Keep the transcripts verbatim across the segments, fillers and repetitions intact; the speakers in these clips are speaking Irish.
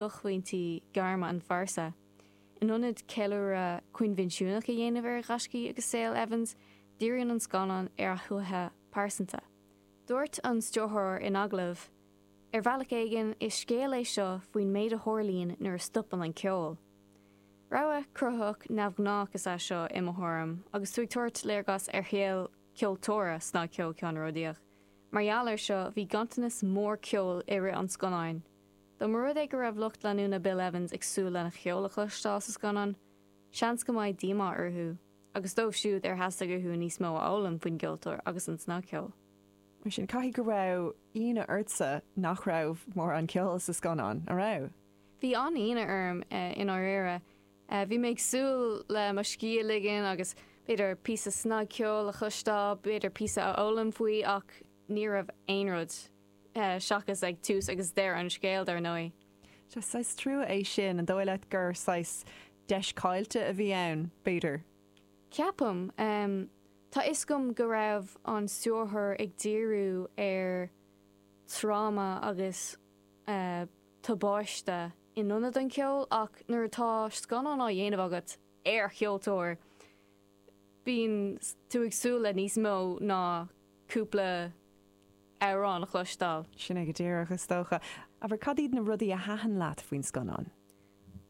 Buaicphointí gairme an phearsa. In ionad ceiliúradh coinbhinsiúnach a dhéanamh ar ghaiscí agus saol Evans, díríonn an scannán ar a shuaitheadh pearsanta. Dúirt an stiúrthóir in agallamh, "Ar bhealach éigin is scéal é seo faoin méid a tharlaíonn nuair a stopann an ceol." Rogha cruthaitheach neamhghnách is ea seo i mo thuairim, agus tú ag tabhairt léargas ar shaol ceoltóra snagcheoil ceannródaíoch. Mar gheall air seo, bhí ganntanas mór ceoil i rith an scannáin. Dá mba rud é go raibh lucht leanúna Bill Evans ag súil lena cheol a chloisteáil sa scannán, seans go mbeidh díomá orthu, agus dóibh siúd ar theastaigh uathu níos mó a fhoghlaim faoin gceoltóir agus an snagcheol. Mar sin caithfidh go raibh ionadh ortsa nach raibh mórán ceoil sa scannán, an raibh? Bhí an-ionadh orm i ndáiríre. Bhí mé ag súil le mo scíth a ligean agus b'fhéidir píosa snagcheoil a chloisteáil, b'fhéidir píosa a fhoghlaim faoi ach ní raibh aon rud seachas ag tús agus deireadh an scéil, dar ndóigh. Sea, saghas trua é sin, an dóigh leat gur saghas deis caillte a bhí ann, b'fhéidir? Ceapaim. Tá fhios agam go raibh an stiúrthóir ag díriú ar tráma agus tubaiste in ionad an cheoil ach nuair atá scannán á dhéanamh agat ar cheoltóir, bíonn tú ag súil le níos mó ná cúpla amhrán a chloisteáil. Sin é go díreach, is dócha. Abair, cad iad na rudaí a thaitin leat faoin scannán?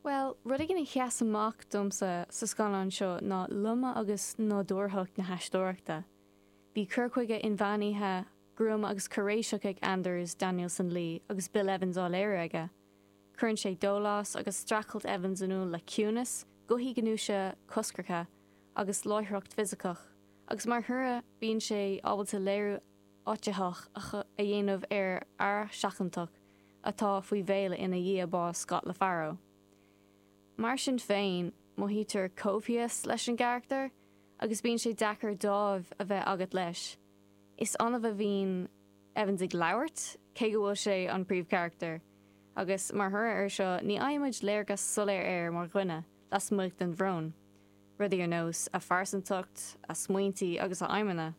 Bhuel, rud éigin a sheas amach domsa sa scannán seo ná loime agus nádúrthacht na haisteoireachta. Bhí cur chuige inmheánaithe, gruama agus cairéiseach ag Anders Danielsen Lie agus Bill Evans á léiriú aige. Cuireann sé dólás agus streachailt Evans in iúl le ciúnas, gothaí gnúise coscracha agus láithreacht fhisiceach, agus mar thoradh bíonn sé ábalta léiriú áititheach a dhéanamh ar fhear seachantach atá faoi mhéala ina dhiaidh bás Scott LaFaro. Mar sin féin, mothaítear coimhthíos leis an gcarachtar agus bíonn sé deacair dáimh a bheith agat leis. Is annamh a bhíonn Evans ag labhairt, cé go bhfuil sé an príomhcharachtar, agus mar thoradh air seo ní fhaighimid léargas soiléir air mar dhuine lasmuigh den bhrón, rudaí ar nós a phearsantacht, a smaointí agus a aidhmeanna.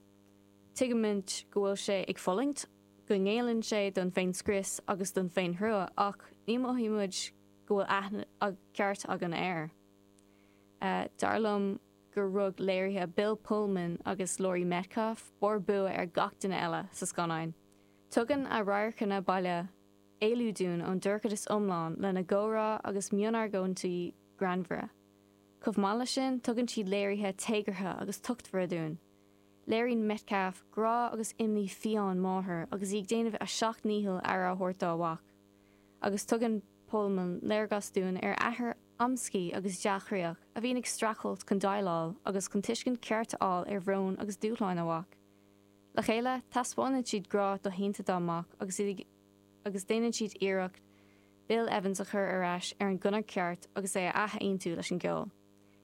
Tuigimid go bhfuil sé ag fulaingt, go ngéilleann sé don féinscrios agus don féinthrua ach ní mhothaímid go bhfuil aithne ceart againn air. Dar liom gur rug léirithe Bill Pullman agus Laurie Metcalf barr bua ar gach duine eile sa scannán. Tugann a radharcanna baile éalú dúinn ón dorchadas iomlán lena gcomhrá agus mionargóintí greannmhara. Chomh maith leis sin, tugann siad léirithe téagartha agus tochtmhara dúinn. Léiríonn Metcalf grá agus imní fiáin máthar agus í ag déanamh a seacht ndícheall aire a thabhairt dá mhac. Agus tugann Pullman léargas dúinn ar athair amscaí agus dea-chroíoch a bhíonn ag streachailt chun déileáil agus chun tuiscint ceart a fháil ar bhrón agus dúshláin a mhac. Le chéile, taispeánann siad grá doshéanta dá mac agus iad agus déanann siad iarracht Bill Evans a chur ar ais ar an gconair ceart agus é a athaontú leis an gceol,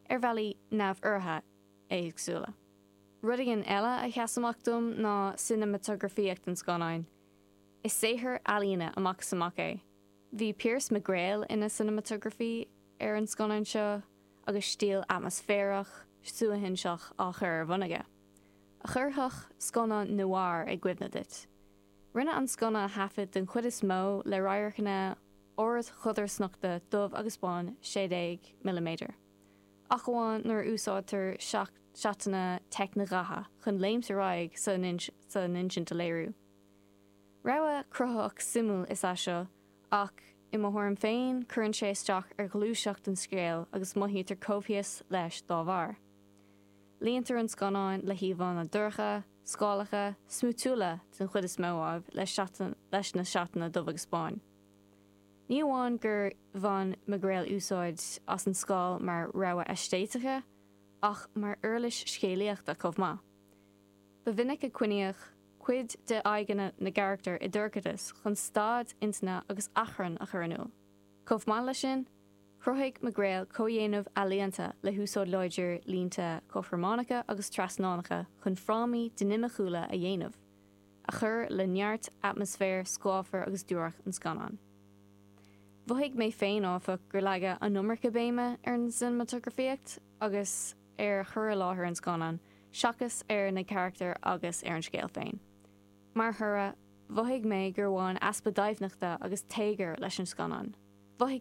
ar bhealaí neamhurraithe éagsúla. Rud éigin eile a sheas amach dom ná cineamatagrafaíocht an scannáin. Is saothar ealaíne amach is amach é. Bhí Piers McGrail ina cineamatagrafaí ar an scannán seo agus stíl atmaisféarach, suaithinseach á chur ar bun aige, a chuirfeadh scannán noir i gcuimhne duit. Rinneadh an scannán a thaifead den chuid is mó le radharcanna ardchodarsnachta dubh agus bán sé déag milliméadar, ach amháin nuair a úsáidtear seatanna teicnidhaithe chun léimt ar aghaidh san insint a léiriú. Rogha cruthaitheach suimiúil is ea seo ach, i mo thuairim féin, cuireann sé isteach ar ghluaiseacht an scéil agus mothaítear coimhthíos leis dá bharr. Líontar an scannán le híomhánna dorcha, scálacha, smúitiúla den chuid is mó, ámh, leis na seatanna dubh agus bán. Ní amháin gur bhain McGrail úsáid as an scáil mar rogha aeistéitice, ach mar uirlis scéalaíochta chomh maith. Ba mhinic a coinníodh cuid de aghaidheanna na gcarachtar i ndorchadas chun staid intinne agus achrann a chur in iúl. Chomh maith leis sin, chruthaigh McGrail comhdhéanamh ealaíonta le húsáid láidir línte cothrománacha agus trasnánacha chun frámaí dinimiciúla a dhéanamh, a chuir le neart atmaisféar scáfar agus duairc an scannáin. Mhothaigh mé féin, áfach, gur leagadh an iomarca béime ar an cineamatagrafaíocht agus ar chur i láthair an scannáin seachas ar na carachtair agus ar an scéal féin. Mar thoradh, mhothaigh mé gur bhain easpa doimhneachta agus téagair leis an scannán. Mhothaigh